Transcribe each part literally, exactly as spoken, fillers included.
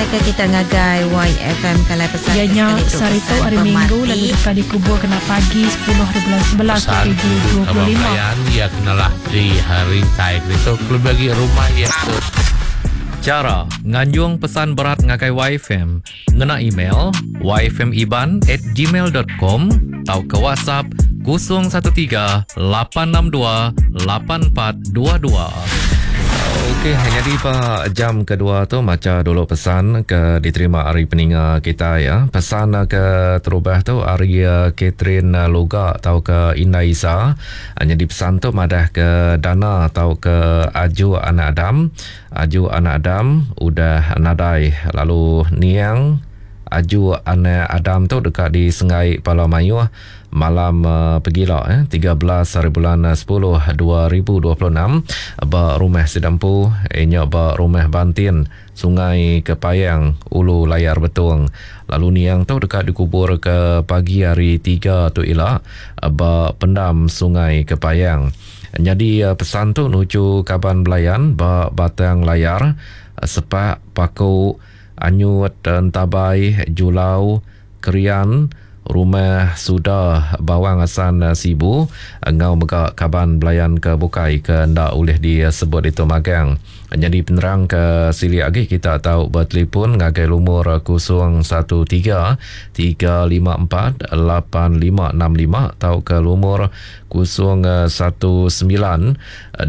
Ngenatai ke kita ngagai Y F M kalai pesan Iya nya sehari tu hari Minggu lalu deka dikubur kena pagi sepuluh bulan sebelas dua ribu dua puluh lima. Ia kenalah di hari tai itu lebih lagi rumah ia tu. Cara nganjung pesan berat ngagai Y F M ngena email y f m iban at gmail dot com atau ke WhatsApp kosong satu tiga lapan enam dua lapan empat dua dua. Okey, jadi pak jam kedua tu maca dulu pesan ke diterima hari peninga kita ya. Pesan ke terubah tu hari Catherine Luga atau ke Indah Isa. Jadi pesan tu madah ke dana atau ke Aju Anak Adam. Aju Anak Adam udah nadai lalu niang Aju Anak Adam tu dekat di Sengai Pala Mayuh malam uh, pegila eh tiga belas hari bulan sepuluh dua ribu dua puluh enam ba rumah Sidampu nya ba rumah Bantin Sungai Kepayang Ulu Layar Betong. Lalu niang tu dekat dikubur ke pagi hari tiga tu ila ba pendam Sungai Kepayang. Jadi pesan tu nuju kaban belayan ba Batang Layar, Sepak, Paku, Anyut, Entabai, Julau, Krian, Rumah Suda Bawang Asan Sibu ngau mega kaban belayan ke bukai ke ndak boleh disebut itu magang. Jadi penerang ke silik lagi kita tahu bertelefon ngagai lumur kosong satu tiga tiga lima empat lapan lima enam lima atau ke lumur kosong satu sembilan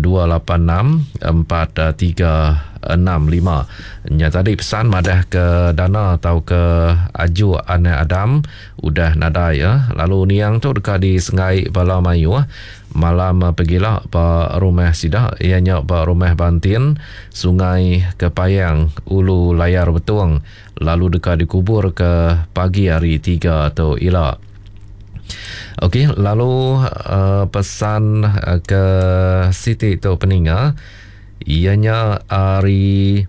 dua lapan enam empat tiga enam lima. Nya tadi pesan madah ke dana atau ke Aju Anak Adam udah nadai ya. Lalu niang tu dekat di Sengai Bala Mayuh malam pegila ba rumah sida ianya ba rumah Bantin Sungai Kepayang Ulu Layar Betong lalu dekat dikubur ke pagi hari tiga tu ila. Okey, lalu uh, pesan uh, ke Siti tu peninga ianya ari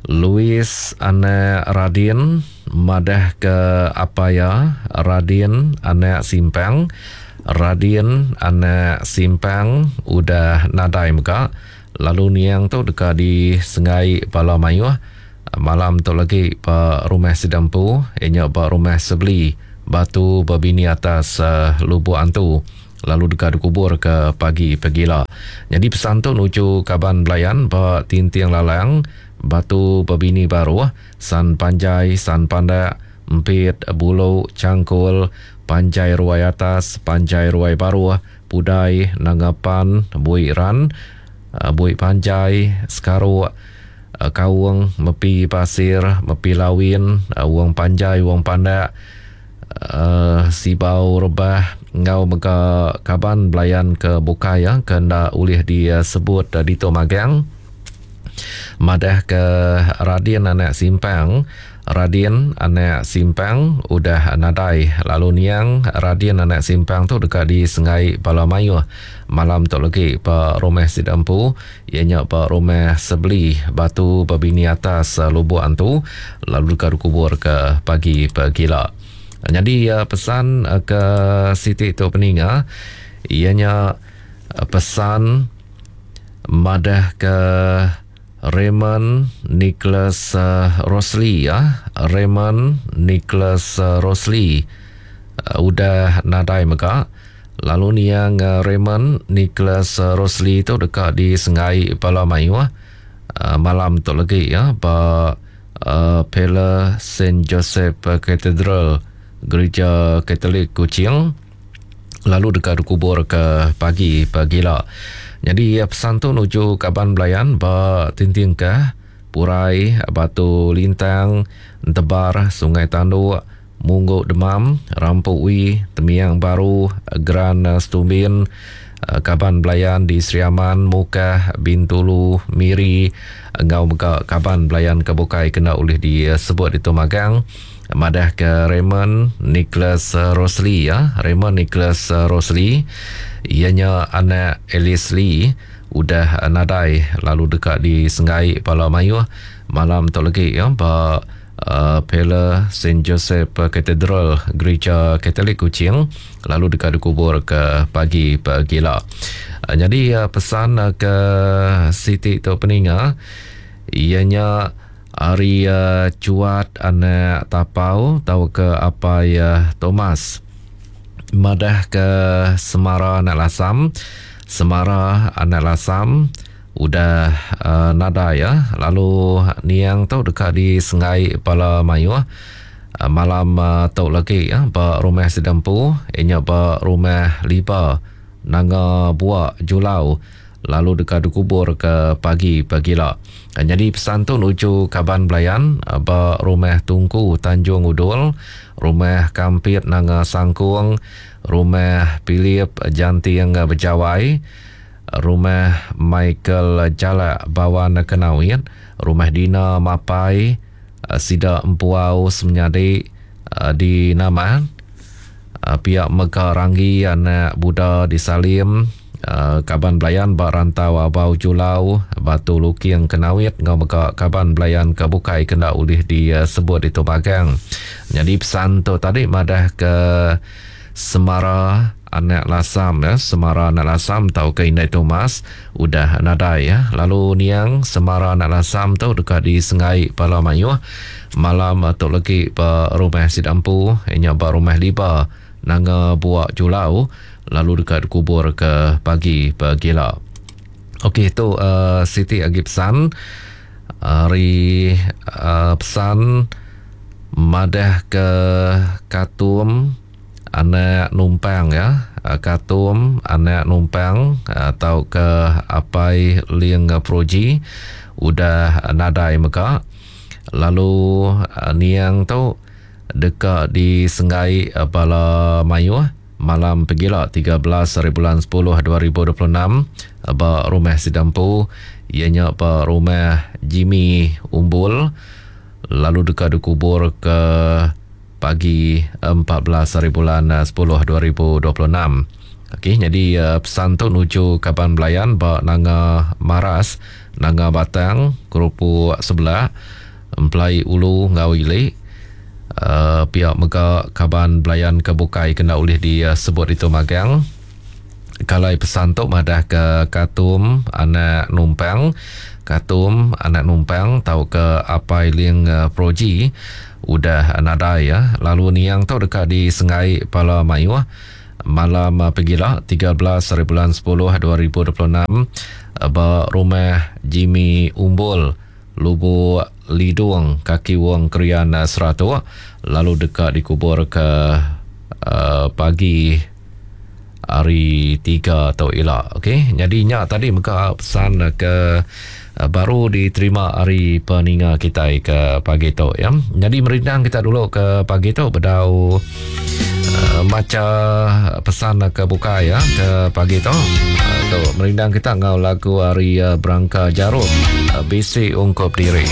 Louis anak Radin madah ke apa ya Radin anak Simpang Radin anak Simpang udah nadai mega lalu niang tu dekat di Sengai Pala Mayuh malam tu lagi ba rumah Sidampu ianya ba rumah Sebeli Batu Berbini atas uh, Lubuk Antu lalu dekat dikubur ke pagi pegila. Jadi pesan tu nuju kaban belayan ba Tinting Lalang Batu Berbini Baruh San Panjai San Pandak Empit Bulu Cangkul Panjai Ruai Atas Panjai Ruai Baruh Pudai Nangapan Bui Ran Bui Panjai Sekaruk Kaung Mepi Pasir Mepi Lawin Wong Panjai Wong Pandak Uh, Sibau Rebah ngau mega kaban belayan ke bukai ya ke ndak ulih disebut uh, di Magang madah ke Radin anak Simpang Radin anak Simpang udah nadai lalu niang Radin anak Simpang tu dekat di Sengai Pala Mayuh malam tu lagi ba rumah Sidampu ianya ba rumah Sebeli Batu Berbini atas Lubuk Antu lalu dekat dikubur ke pagi pegila. Jadi pesan ke Siti tu peninga ianya pesan madah ke Raymond Nicholas Rosli ya Raymond Nicholas Rosli udah nadai mega lalu niang Raymond Nicholas Rosli tu dekat di Sengai Pala Mayuh malam tu lagi ya ba Uh, Pela Saint Joseph Cathedral Gereja Katolik Kuching lalu dekat dikubur ke pagi pagila. Jadi pesan tu nuju kaban belayan ba Tintingkah Purai Batu Lintang Entebar Sungai Tanduk Mungguk Demam Rampuk Wi Temiang Baru Geran Stumbin kaban belayan di Sri Aman, Mukah, Bintulu, Miri ngau mega kaban belayan ke bukai kena oleh disebut itu magang madah ke Raymond Nicholas Rosli ya Raymond Nicholas Rosli ianya anak Alice Lee udah nadai lalu dekat di Sengai Pala Mayuh malam tu lagi ya ba Uh, Pela Saint Joseph Cathedral Gereja Katolik Kuching lalu dekat dikubur ke pagi pegila. Uh, jadi uh, pesan uh, ke Siti tu peninga ianya Ari uh, Cuat anak Tapau tau ke Apai uh, Thomas. Madah ke Semara anak Lasam, Semara anak Lasam udah uh, nada ya. Lalu niang tu dekat di Sengai Pala Mayuh uh, malam uh, tu lagi ya, ba rumah Sidampu, inya ba rumah Liba Nanga Buak Julau, lalu dekat dikubur ke pagi pagila. Jadi pesan tu nuju kaban belayan ba rumah Tungku Tanjung Udul, rumah Kampit Nanga Sangkung, rumah Philip Janting Bejawai, rumah Michael Jalak Bawan Kenawit, rumah Dina Mapai, Sida Empuau Semenyadi di Nama, pihak Mega Ranggi anak Buddha di Salim, kaban belayan ba Rantau Abau Julau, Batu Luking Kenawit, ngau mega kaban belayan ke bukai kena ulih disebut itu bagang. Jadi pesan tu tadi madah ke Semara anak Lasam ya, Semara anak Lasam tau ke Indai Thomas udah nadai ya. Lalu niang Semara anak Lasam tu dekat di Sengai Pala Mayuh malam tu lagi ba rumah Sidampu, inya ba rumah Liba Nanga Buak Julau, lalu dekat dikubur ke pagi pagila. Okey, tu uh, Siti agi pesan hari uh, pesan madah ke Katum anak numpang ya, Katum anak numpang atau ke Apai Ling Proji udah nadai mega. Lalu niang tu dekat di Sengai Bala Mayuh malam pegila tiga belas hari bulan sepuluh dua ribu dua puluh enam ba rumah Sidampu, ianya ba rumah Jimmy Umbul, lalu dekat dikubur ke pagi empat belas hari bulan sepuluh dua ribu dua puluh enam. Okey, jadi pesan tu nuju kaban belayan ba Nanga Maras, Nanga Batang, Kerupuk Sebelah, Emplai Ulu ngau Ilik. Uh, pihak mega kaban belayan ke bukai kena ulih disebut itu magang. Kalau pesan tu madah ke Katum anak numpang, Katum anak numpang tau ke Apai Ling Proji udah nadai ya. Lalu niang tu dekat di Sengai Pala Mayuh malam pegila tiga belas hari bulan sepuluh dua ribu dua puluh enam ba rumah Jimmy Umbul, Lubuk Lidung, Kaki Wong Krian Seratuk, lalu dekat dikubur ke uh, pagi hari tiga atau elak. Okey, jadi nyak tadi mega pesan ke uh, baru diterima hari peninga kita ke pagi tu ya. Jadi merindang kita dulu ke pagi tu bedau uh, maca pesan ke buka ya ke pagi tu. Uh, tu merindang kita ngau lagu hari uh, Berangka Jarum uh, Bisi Ungkup Diri.